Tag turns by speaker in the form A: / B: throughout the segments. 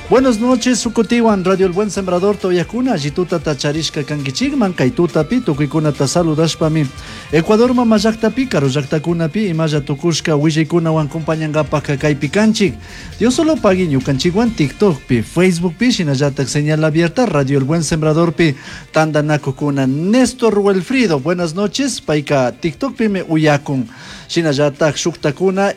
A: Buenas noches, Sukutiwan, Radio El Buen Sembrador, Toyakuna, allituta charishka kankichikman, kay tutapi, tukuykunata saludashpami. Ecuador mama llaktapi, karu llaktakunapi, imalla tukushka willaykunawan compañankapak kaypi kanchik. Dios solo pagui ñukanchikwan TikTokpi, Facebookpi, shinallatak señal abierta, Radio El Buen Sembradorpi, tandanakukuna. Néstor Wilfrido, buenas noches, payka TikTokpi me uyakun. Shinallatak shuktakuna,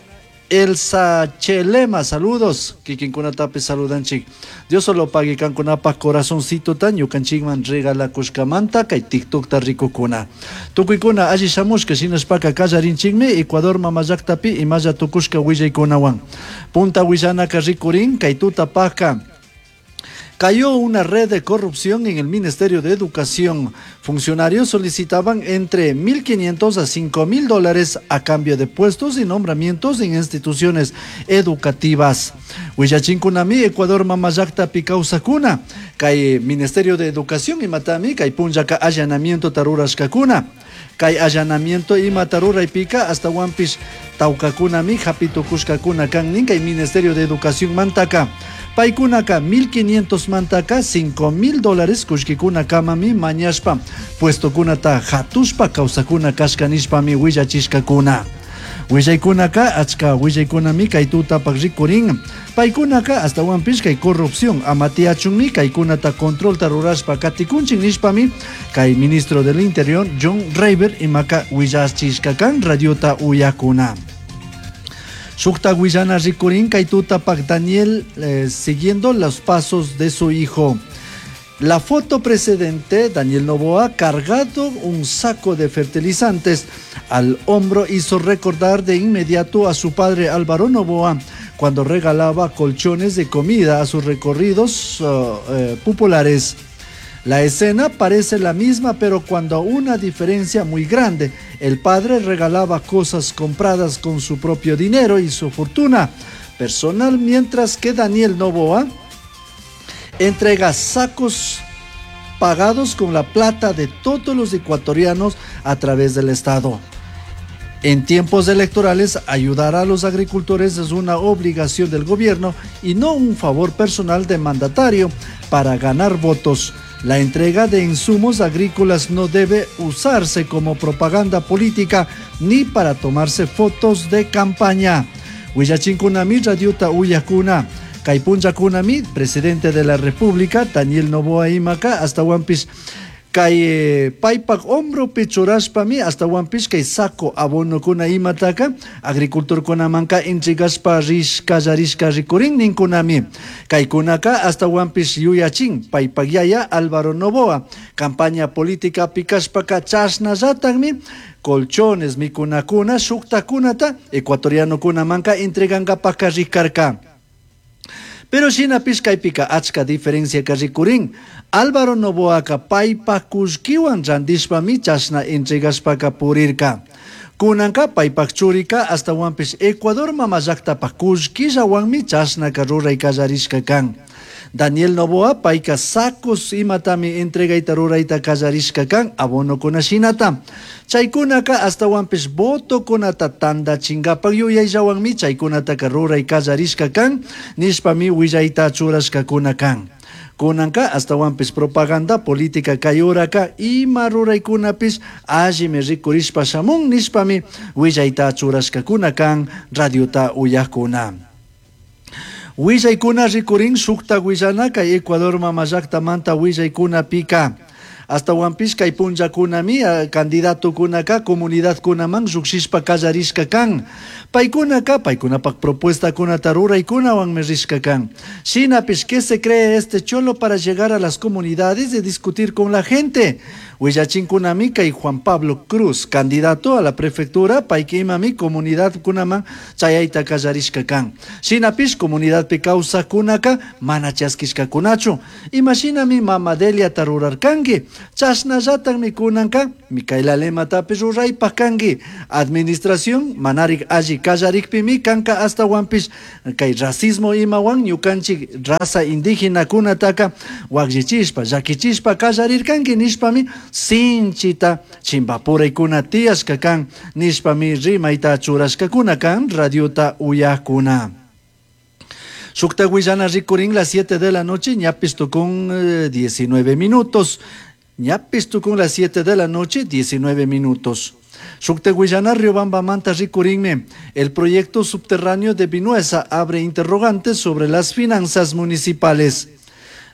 A: Elsa Chelema, saludos. Kikinkunatapi saludanchik. Dios solo pague kankunapa corazoncito ta ñukanchikman regalakushkamanta kay TikTokta rikukuna. Tukuykuna alli shamushka shinashpaka kallarinchikmi Ecuador mama llaktapi imalla tukushka willaykunawan. Punta willanaka rikurin kay tutapaka. Cayó una red de corrupción en el Ministerio de Educación. Funcionarios solicitaban entre 1.500 a 5.000 dólares a cambio de puestos y nombramientos en instituciones educativas. Willachinkunami, Ecuador mama llaktapi kawsakuna. Kay Ministerio de Educación imatami, kay punllaka allanamiento rurashkakuna. Kay allanamiento imata ruraypika ashtahuanpish tawkakunami hapitukushkakuna kan nin kay Ministerio de Educación mantaka. Paykunaka 1500 mantaka 5000 dólares kullkikuna kamami mañashpa puestokunata hatushpa kawsakuna kashka nishpami willachishkakuna. Willaykunaka achka willaykunami kay tutapak rikurin. Paykunaka ashtahuanpish kay corrupción ama tiyachunmi kaykunata controlta rurashpa katikunchik nishpami kay ministro del Interior John Rayber imaka willachishka kan radiota uyakuna. Shukta willana rikurin kay tutapak Daniel siguiendo los pasos de su hijo. La foto precedente, Daniel Noboa cargado un saco de fertilizantes al hombro hizo recordar de inmediato a su padre Álvaro Noboa cuando regalaba colchones de comida a sus recorridos populares. La escena parece la misma, pero cuando una diferencia muy grande. El padre regalaba cosas compradas con su propio dinero y su fortuna personal, mientras que Daniel Noboa entrega sacos pagados con la plata de todos los ecuatorianos a través del Estado. En tiempos electorales, ayudar a los agricultores es una obligación del gobierno y no un favor personal de mandatario para ganar votos. La entrega de insumos agrícolas no debe usarse como propaganda política ni para tomarse fotos de campaña. Willachinkunami radiota uyakuna. Kay punllakunami, presidente de la República, Daniel Noboa imaka, ashtahuanpish kay paypak hombropi churashpami, ashtahuanpish kay saco abonokuna imataka, agricultorkunamanka entregashpa rishka rishka rikurin ninkunami. Kaykunaka ashtahuanpish yuyachin, paypak yaya Álvaro Noboa, campaña política pikashpaka chashnallatakmi, colchones mikunakuna shuktakunata ecuatorianokunamanka entregankapaka rikarka. Pero shinapish kaypika achka diferencia ka rikurin. Álvaro Noboaka paypak kullkiwan randishpami chashna entregashpaka purirka. Kunanka paypak churika ashtahuanpish Ecuador mama llaktapak kullkillawanmi chashnaka ruray kallarishka kan. Daniel Noboa payka sacos imatami entregayta rurayta kallarishka kan abonokuna shinata. Chaykunaka ashtahuanpish votokunata tandachinkapak yuyayllawanmi chaykunataka ruray kallarishka kan nishpami willayta churashkakuna kan. Kunanka ashtahuanpish propaganda política kay uraka ima ruraykunapish allimi rikurishpa shamun nishpami willayta churashkakuna kan radiota uyakuna. Willaykuna rikurin shukta willana kay Ecuador mama llaktamanta willaykunapika. Ashtahuanpish kay punllakunami candidatokunaka comunidadkunaman llukshishpa kallarishka kan. Paykunaka paykunapak propuestakunata ruraykunawanmi rishka kan. Shinapish, ¿qué se cree este cholo para llegar a las comunidades y discutir con la gente? Willachinkunami kay Juan Pablo Cruz, candidato a la prefectura, payka imami comunidad kunaman chayayta kallarishka kan. Shinapish comunidadpi kawsakkunaka mana chaskishkakunachu. Imashinami mama Deliata rurarkanki. Chashnallatakmi kunanka Micaela Lematapish ruraypak kanki. Administración manarik alli kallarikpimi kanka ashtahuanpish kay racismo imawan ñukanchik raza indígena kunataka wakllichishpa llakichishpa kallarirkanki nishpami sinchita chimpapuraykuna tiyashka kan nishpami rimayta churashkakuna kan radiota uyakuna. Shukta willana rikurin las 7 de la noche, ñapis tukun 19 minutos. Ñapis tukun las 7 de la noche, 19 minutos. Shukta willana Riobamba manta rikurinmi. El proyecto subterráneo de Vinuesa abre interrogantes sobre las finanzas municipales.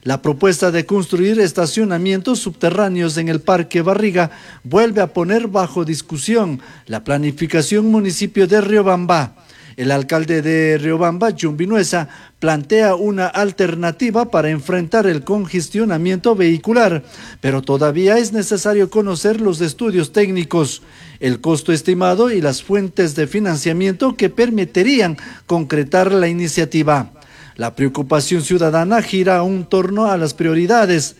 A: La propuesta de construir estacionamientos subterráneos en el Parque Barriga vuelve a poner bajo discusión la planificación municipio de Riobamba. El alcalde de Riobamba, Jhon Vinuesa, plantea una alternativa para enfrentar el congestionamiento vehicular, pero todavía es necesario conocer los estudios técnicos, el costo estimado y las fuentes de financiamiento que permitirían concretar la iniciativa. La preocupación ciudadana gira en torno a las prioridades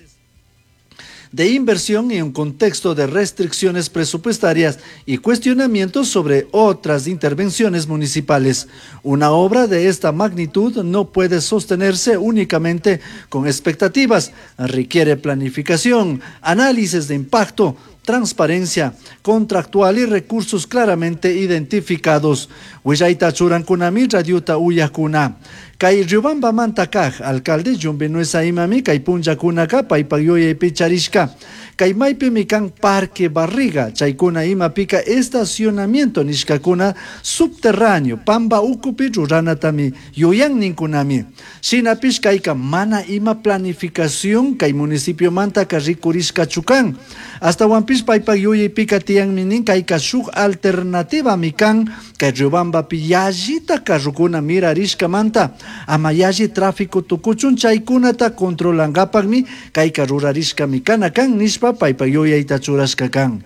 A: de inversión en un contexto de restricciones presupuestarias y cuestionamientos sobre otras intervenciones municipales. Una obra de esta magnitud no puede sostenerse únicamente con expectativas, requiere planificación, análisis de impacto, transparencia contractual y recursos claramente identificados. Willayta churankunami radiota uyakuna. Kay Riobamba manta kaj, alcalde Jhon Vinuesa imami kay punllakunaka paypak yuyaypi charishka. Kay maypimi kan Parque Barriga, chaykuna imapika estacionamiento nishkakuna subterráneo, pamba ukupi ruranatami yuyan ninkunami. Shinapish kayka mana ima planificación kay municipio mantaka rikurishkachu kan. Ashtawanpish paypak yuyaypika tiyanmi nin kayka shuk alternativami kan kay Riobambapi yallita carrokuna mirarishkamanta ama yalli tráfico tukuchun chaykunata controlankapakmi kayka rurarishkami kana kan nishpa paypak yuyayta churashka kan.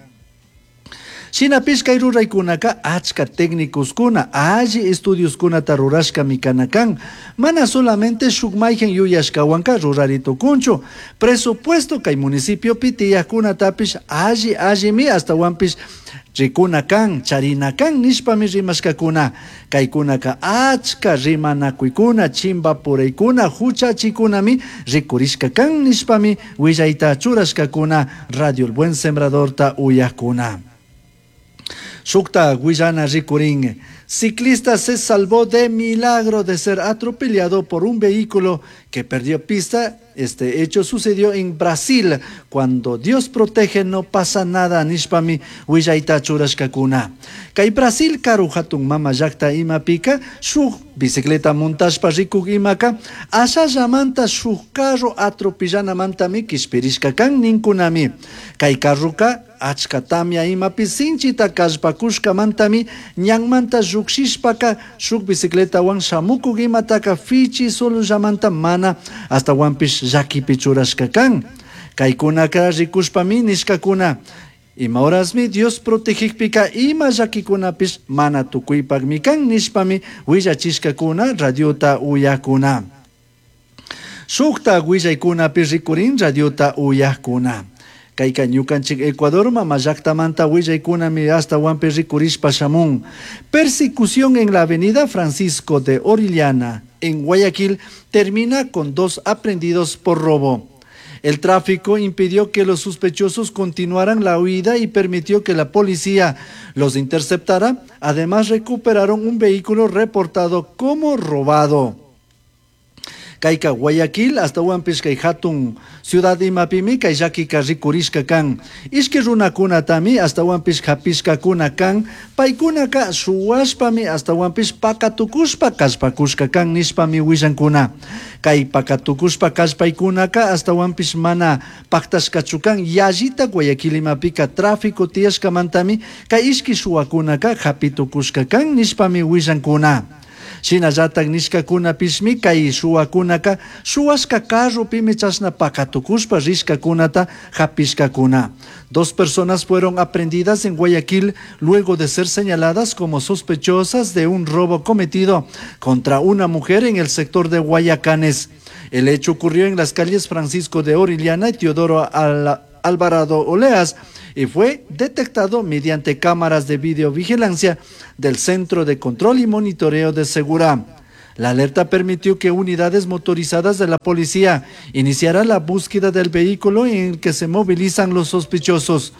A: Shinapish kay ruraykunaka achka técnicoskuna alli estudioskunata rurashkami kana kan. Mana solamente shuk mayhan yuyashkawanka rurari tukunchu. Presupuesto kay municipiopi tiyakkunatapish alli allimi ashtawanpish rikuna kan, charina kan nishpami rimashkakuna. Kaykunaka achka rimanakuykuna, chimbapuraykuna, huchachikunami rikurishka kan nishpami willayta churashkakuna Radio El Buen Sembradorta uyakuna. Shukta willana rikurin. Ciclista se salvó de milagro de ser atropellado por un vehículo que perdió pista. Este hecho sucedió en Brasil. Cuando Dios protege no pasa nada, nishpami willayta churashkakuna. Kay Brasil karu hatun mama llakta imapika shuk bicicleta montashpa rikuk imaka ashallamanta shuk carro atropellanamantami kishpirishka kan ninkunami. Kay carroka achka tamya imapi sinchita kallpakushkamantami ñanmanta llukshishpaka shuk bicicletawan shamukuk imataka fichi solullamanta mana ashtawanpish llakipi churashka kan. Kaykunaka rikushpami nishkakuna. Ima horasmi Dios protegikpika ima llakikunapish mana tukuypakmi kan nishpami willachishkakuna radiota uyakuna. Shukta willaykunapi rikurin radiota uyakuna. Kayka ñukanchik Ecuador mama llaktamanta willaykunami ashtawanpi rikurishpa shamun. Persecución en la avenida Francisco de Orellana, en Guayaquil, termina con 2 aprehendidos por robo. El tráfico impidió que los sospechosos continuaran la huida y permitió que la policía los interceptara. Además, recuperaron un vehículo reportado como robado. Kayka Guayaquil, ashtawanpish kay hatun ciudad imapimi kay llakika rikurishka kan. Ishki runakunatami ashtawanpish hapishkakuna kan, paykunaka shuwashpami ashtawanpish pakatukushpa kallpakushka kan nishpami willankuna. Kay pakatukushpa kallpaykunaka ashtawanpish mana paktashkachu kan, yallita Guayaquil imapika tráfico tiyashkamantami kay ishki shuwakunaka hapitukushka kan nishpami willankuna. Shinallatak nishkakunapishmi kay shuwakunaka shuwashka carropimi chashna pakatukushpa rishkakunata hapishkakuna. 2 personas fueron aprehendidas en Guayaquil luego de ser señaladas como sospechosas de un robo cometido contra una mujer en el sector de Guayacanes. El hecho ocurrió en las calles Francisco de Orellana y Teodoro Alvarado Oleas y fue detectado mediante cámaras de videovigilancia del Centro de Control y Monitoreo de Segura. La alerta permitió que unidades motorizadas de la policía iniciaran la búsqueda del vehículo en el que se movilizan los sospechosos.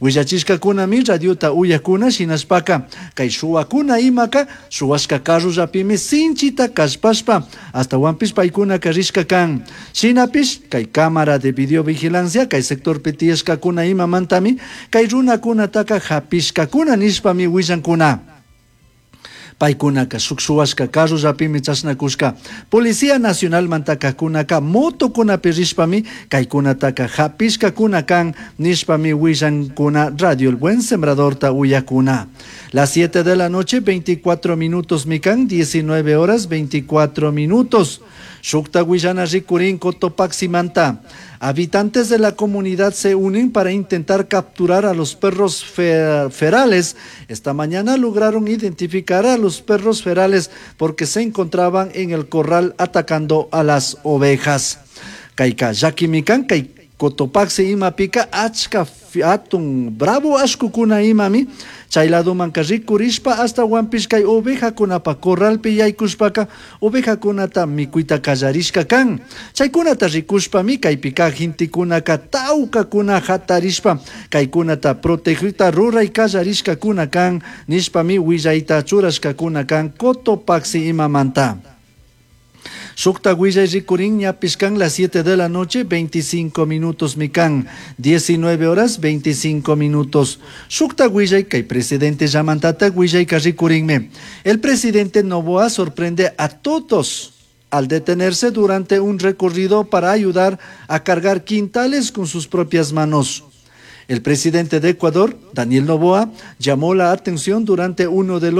A: Willachishcacunami radiota uyacuna shinashpaca kay shuwakuna imaka shuwashka carrollapimi sinchita kallpashpa ashtahuanpish paykunaka rishka kan. Shinapish kay cámara de videovigilancia kay sectorpi tiyashkakuna imamantami kay runakunataka hapishkakuna nishpami willankuna. Paykunaka shuk shuwashka carrollapimi chashnakushka. Policía Nacionalmantakakunaka motokunapi rishpami kaykunataka hapishkakuna kan nishpami willankuna Radio El Buen Sembradorta uyakuna. Las 7 de la noche, 24 minutos mikan, 19 horas 24 minutos. Shukta willana rikurin Cotopaximanta. Habitantes de la comunidad se unen para intentar capturar a los perros ferales. Esta mañana lograron identificar a los perros ferales porque se encontraban en el corral atacando a las ovejas. Kayka llakimikan kay Cotopaxi imapika achka atun bravo ashkukuna imami chay ladomanka rikurishpa ashtawanpish kay ovejakunapa corralpi yaykushpaka ovejakunata mikuyta kallarishka kan. Chaykunata rikushpami kaypika gentekunaka tawkakuna hatarishpa kaykunata protegita ruray kallarishkakuna kan nishpami willayta churashkakuna kan Cotopaxi imamanta. Shukta willay rikurin ñapish kan las 7 de la noche, 25 minutos mikan, 19 horas 25 minutos. Shukta willay kay presidente llamantata willayka rikurinmi. El presidente Noboa sorprende a todos al detenerse durante un recorrido para ayudar a cargar quintales con sus propias manos. El presidente de Ecuador, Daniel Noboa, llamó la atención durante uno de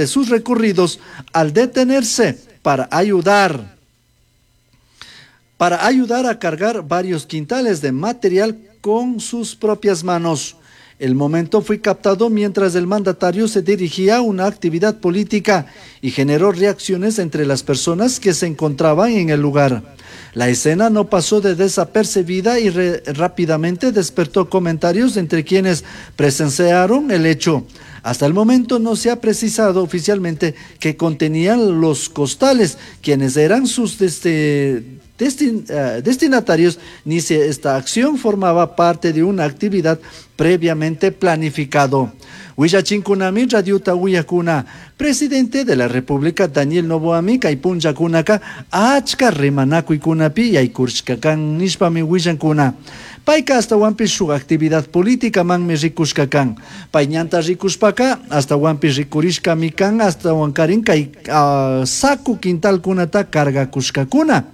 A: sus recorridos al detenerse para ayudar a cargar varios quintales de material con sus propias manos. El momento fue captado mientras el mandatario se dirigía a una actividad política y generó reacciones entre las personas que se encontraban en el lugar. La escena no pasó de desapercibida y rápidamente despertó comentarios entre quienes presenciaron el hecho. Hasta el momento no se ha precisado oficialmente qué contenían los costales, quienes eran sus destinatarios, ni si esta acción formaba parte de una actividad previamente planificado. Willachinkunami radiota uyakuna, presidente de la República Daniel Noboami kay punllakunaka achka rimanakuykunapi yaykurishka kan nishpami willankuna. Payka ashtawanpish shuk actividad política manmi rikushka kan. Pay ñanta rikushpaka ashtawanpish rikurishkami kan ashtawankarin kay saco quintalkunata cargakushkakuna.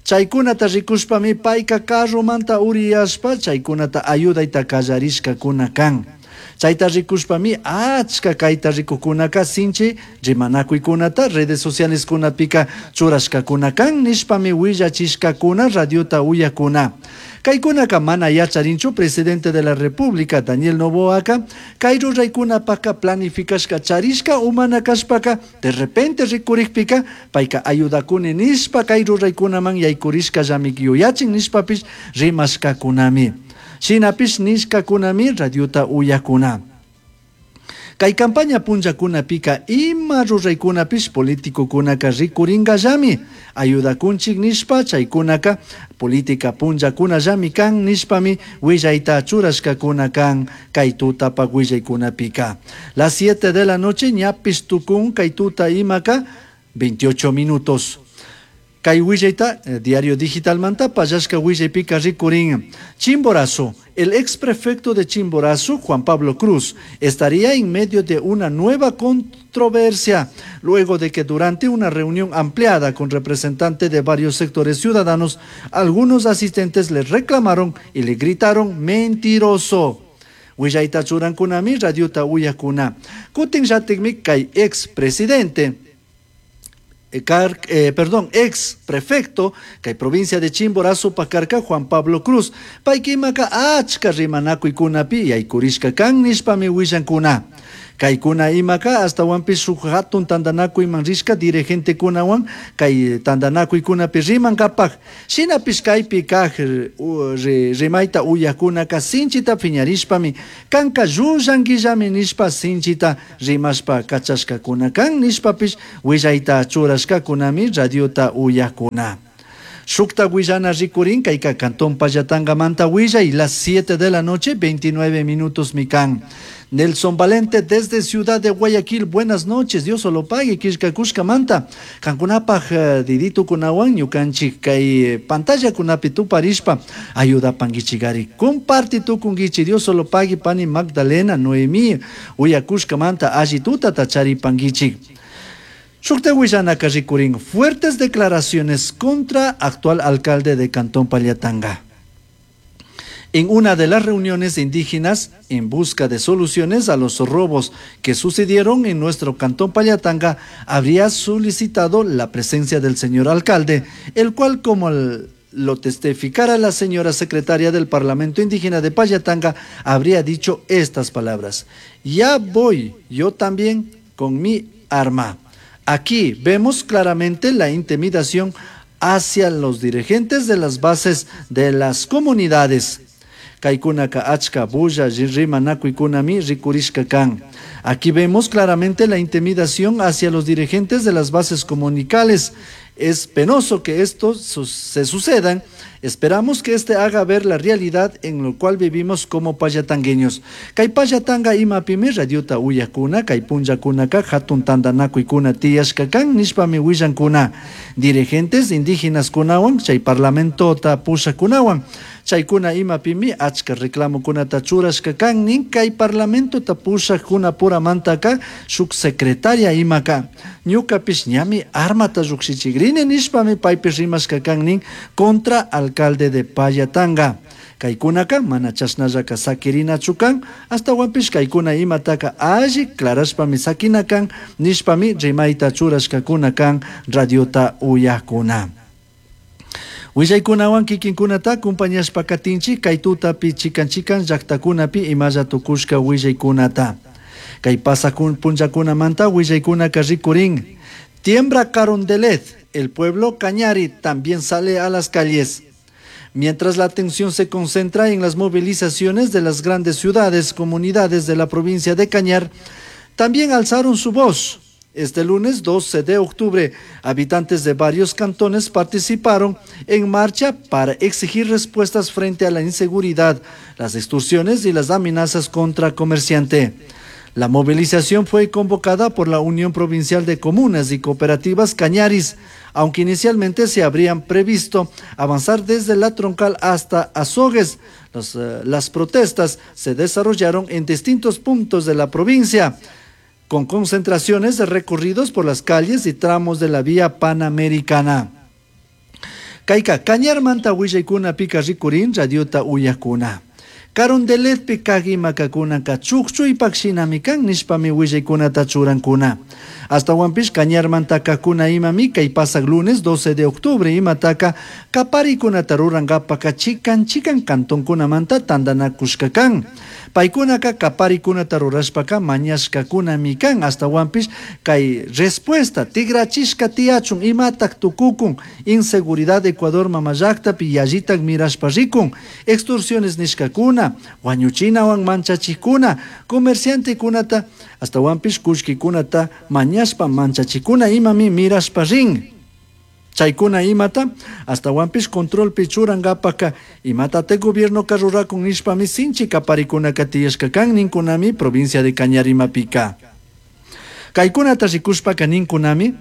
A: Chaykunata rikushpami payka carromanta uriyashpa chaykunata ayudayta kallarishkakuna kan. Chayta rikushpami achka kayta rikukunaka sinchi rimanakuykunata redes sociales kunapika churashkakuna kan nishpami willachishkakuna radiota uyakuna. Kaykunaka mana yacharinchu presidente de la República Daniel Noboaka kay ruraykunapaka planificashka charishka umana kashpaka de repente rikurikpika payka ayudakuni nishpa kay ruraykunaman yaykurishkallami yuyachin nishpapish rimashkakunami. Shinapish nishkakunami radiota uyakuna. Kay campaña punllakunapika ima ruraykunapish politicokunaka rikuringallami ayudakunchik nishpa chaykunaka política punllakunallami kan nishpami willayta churashkakuna kan kay tutapak willaykunapika. Las 7 de la noche ñapish tukun kay tuta imaka 28 minutos. Kay willayta diario digital manta pallashka willaypika rikurin. Chimborazo, el ex prefecto de Chimborazo, Juan Pablo Cruz, estaría en medio de una nueva controversia, luego de que durante una reunión ampliada con representantes de varios sectores ciudadanos, algunos asistentes le reclamaron y le gritaron mentiroso. Willayta churankunami radiota uyakuna. Kutin llatikmi kay ex presidente. Perdón, ex prefecto kay provincia de Chimborazo pakarka Juan Pablo Cruz paykimaka achka rimanakuykunapi yaykurishka kan nishpami willankuna. Kaykuna imaka ashtawanpish shuk hatun tantanakuyman rishka dirigentekunawan kay tantanakuykunapi rimankapak. Shinapish kaypi kaj rimayta uyakunaka sinchita piñarishpami kanka llullanquillami nishpa sinchita rimashpa kachashkakuna kan nishpapish willayta churashkakunami radiota uyakuna. Shukta willana rikurin kayka Cantón Pallatangamanta willay las 7 de la noche 29 minutos mikan. Nelson Valente desde Ciudad de Guayaquil, buenas noches, Dios solo pague, killkakushkamanta. Kankunapaj diditu kunawan ñukanchik kay pantalla kunapi tuparishpa ayudapankichikari. Comparti tukunkichik, Dios solo pague, pani Magdalena, Noemí, uyakushkamanta alli tutata charipankichik. Shukta willanaka rikurin fuertes declaraciones contra actual alcalde de Cantón Pallatanga. En una de las reuniones indígenas en busca de soluciones a los robos que sucedieron en nuestro Cantón Pallatanga, habría solicitado la presencia del señor alcalde, el cual, como lo testificara la señora secretaria del Parlamento Indígena de Pallatanga, habría dicho estas palabras: Ya voy yo también con mi arma. Aquí vemos claramente la intimidación hacia los dirigentes de las bases de las comunidades. Kaikunaka achka bulla rimanakuykunami rikurishka kan. Aquí vemos claramente la intimidación hacia los dirigentes de las bases comunicales. Es penoso que esto se sucedan. Esperamos que este haga ver la realidad en lo cual vivimos como payatangueños. Kay payatanga imapimi radiota uyakuna, kay punllakunaka hatun tandanakuykuna tiyashka kan nishpami willankuna. Dirigentes indígenas kunawan, chay parlamentota pushakunawan. Chaykuna imapimi achka reclamokunata churashka kan nin kay parlamentota pushakuna puramantaka shuk secretaria imaka. Ñukapish ñami armata llukshichikrini nishpami paypish rimashka kan nin contra alcalde de Pallatanga. Kaykunaka mana chashnallaka sakirinachu kan, ashtawanpish kaykuna imataka alli clarashpami sakina kan nishpami rimayta churashkakuna kan radiota uyakuna. Willaykunawan kikinkunata acompañashpa katinchik kay tutapi chikan chikan llaktakunapi imalla tukushka willaykunata. Kay pasakun punllakunamanta willaykunaka rikurin. Tiembra Carondelet, el pueblo Cañari también sale a las calles. Mientras la atención se concentra en las movilizaciones de las grandes ciudades, comunidades de la provincia de Cañar, también alzaron su voz. Este lunes 12 de octubre, habitantes de varios cantones participaron en marcha para exigir respuestas frente a la inseguridad, las extorsiones y las amenazas contra comerciante. La movilización fue convocada por la Unión Provincial de Comunas y Cooperativas Cañaris, aunque inicialmente se habrían previsto avanzar desde la Troncal hasta Azogues. Las protestas se desarrollaron en distintos puntos de la provincia, con concentraciones de recorridos por las calles y tramos de la vía panamericana. Kayka Cañarmanta willaykuna pika rikurin radiota uyakuna. Carondeletpi kag imakunaka chukchuypak shinami kan nishpami willaykunata churankuna. Ashtawanpish Cañarmanta kakuna imami kay pasak lunes 12 de octubre imataka kaparikunata rurankapaka chikan chikan cantonkunamanta tandanakushka kan. Paykunaka kaparikunata rurashpaka mañashkakunami kan. Ashtawanpish kay respuesta tigrachishka tiyachun imatak tukukun inseguridad Ecuador mamallaktapi yallitak mirashpa rikun extorsiones nishkakuna wañuchinawan manchachikuna comerciantekunata ashtawanpish kullkikunata mañashpa manchachikuna imami mirashpa rin. Chaykuna imata ashtawanpish controlpi churankapaka imatate gobiernoka rurakun nishpami sinchi kaparikunaka tiyashka kan ninkunami provincia de Cañar imapika. Kaykunata rikushpaka ninkunami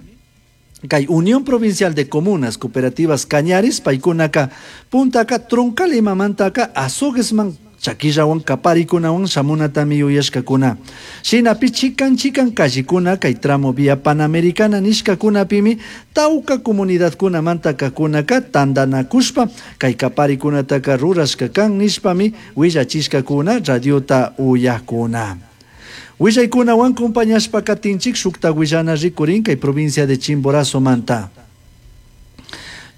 A: kay Unión Provincial de Comunas Cooperativas Cañaris paykunaka puntaka Troncal imamantaka Azoguesman chakillawan kaparikunawan shamunatami yuyashkakuna. Shinapi chikan chikan callikuna kay tramo vía panamericana nishkakunapimi tawka comunidadkunamanta kakunaka tandanakushpa kay kaparikunataka rurashka kan nishpami willachishkakuna radiota uyakuna. Willaykunawan compañashpa katinchik shukta willana rikurin kay provincia de Chimborazo manta.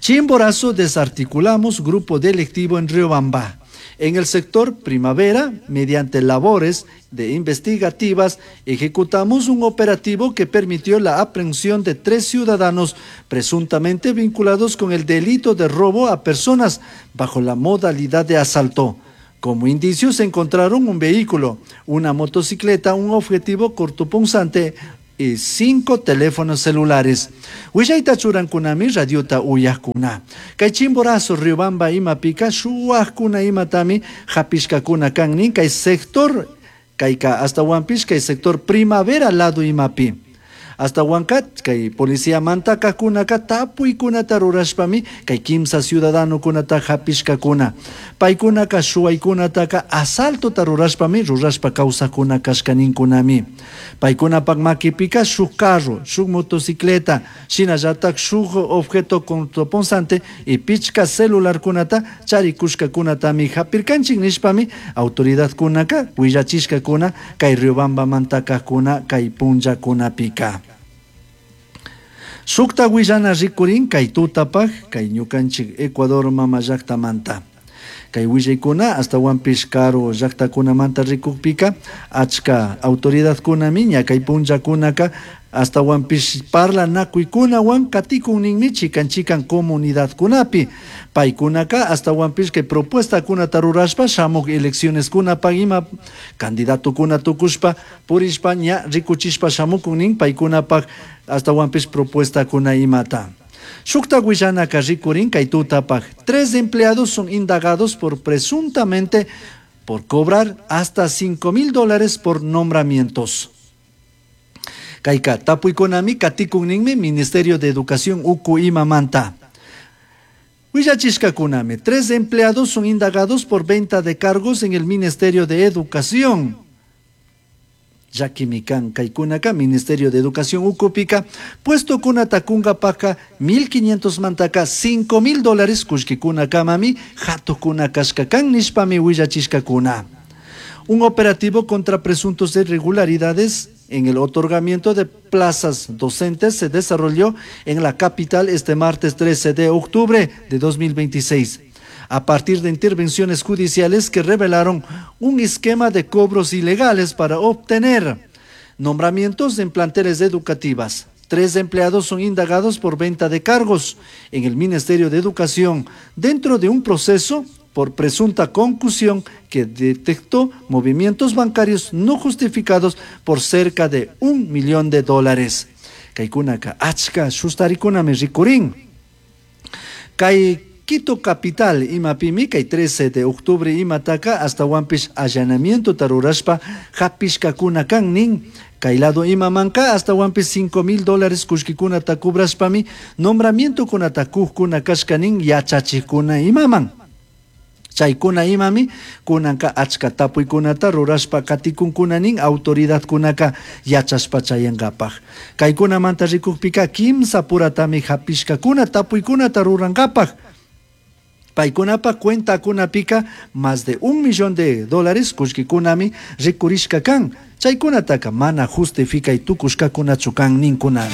A: Chimborazo desarticulamos grupo delictivo en Riobamba. En el sector Primavera, mediante labores de investigativas, ejecutamos un operativo que permitió la aprehensión de 3 ciudadanos presuntamente vinculados con el delito de robo a personas bajo la modalidad de asalto. Como indicios se encontraron un vehículo, una motocicleta, un objetivo cortopunzante y 5 teléfonos celulares. Willayta churankunami radiota uyajkuna. Kay Chimborazo, Riobamba imapika shuwajkuna imatami hapishkakuna kan nin kay sector kayka astawanpish kay sector Primavera lado imapi. Astawanka kay policía mantakakunaka tapuykunata rurashpami kay kimsa ciudadanokunata hapishkakuna. Paykunaka shuwaykunataka asaltota rurashpami rurashpa kawsakuna kashkaninkunami. Paykunapak makipika shuk carro, shuk motocicleta, shinallatak shuk objeto cortopunzante y pichka celularkunata charikushkakunatami hapirkanchik nishpami autoridadkunaka willachishkakuna kay Riobambamanta kay punllakunapika. Shukta willana rikurin kay tutapaj kay ñukanchik Ecuador mama llaktamanta. Kay willaykuna astawanpish karu llaktakunamanta rikukpika achka autoridadkunami ña kay punllakunaka astawanpish parlanakuykunawan katikun ninmi chikan chikan comunidadkunapi. Paykunaka astawanpish kay propuestakunata rurashpa shamuk eleccioneskunapaq ima candidatokuna tukushpa purishpa ña rikuchishpa shamukun nin paykunapaq astawanpish propuestakuna imata. Shukta willanaka rikurin kay tutapaq 3 empleados son indagados por presuntamente por cobrar hasta $5,000 por nombramientos. Kayka tapuykunami katikun ninmi Ministerio de Educación uku imamanta. Willachishkakunami 3 empleados son indagados por venta de cargos en el Ministerio de Educación. Llakimikan kaykunaka Ministerio de Educación ukupika puesto kunata kunkapaka 1.500 mantaka $5,000 kullkikunakamami hatukuna kashkakan nishpami willachishkakuna. Un operativo contra presuntos irregularidades en el otorgamiento de plazas docentes se desarrolló en la capital este martes 13 de octubre de 2026, a partir de intervenciones judiciales que revelaron un esquema de cobros ilegales para obtener nombramientos en planteles educativas. 3 empleados son indagados por venta de cargos en el Ministerio de Educación dentro de un proceso por presunta concusión que detectó movimientos bancarios no justificados por cerca de un millón de dólares. Kaykunaka achka shustarikunami rikurin. Kay Quito capital imapimi kay 13 de octubre imataka hasta wanpish allanamiento tarurashpa hapishkakuna kan nin. Kay lado imamanka hasta wanpish $5,000 kullkikunata kubrashpami nombramiento kunata kujkuna kashka nin yachachikuna imaman. Chaykuna imami kunanka achka tapuykunata rurashpa katikunkuna nin autoridadkunaka yachashpa chayankapaj. Kaykunamanta rikukpika kimsa puratami hapishkakuna tapuykunata rurankapaj. Paykunapa cuentakunapika más de un millón de dólares kullkikunami rikurishka kan. Chaykunataka mana justificay tukushkakunachu kan ninkunami.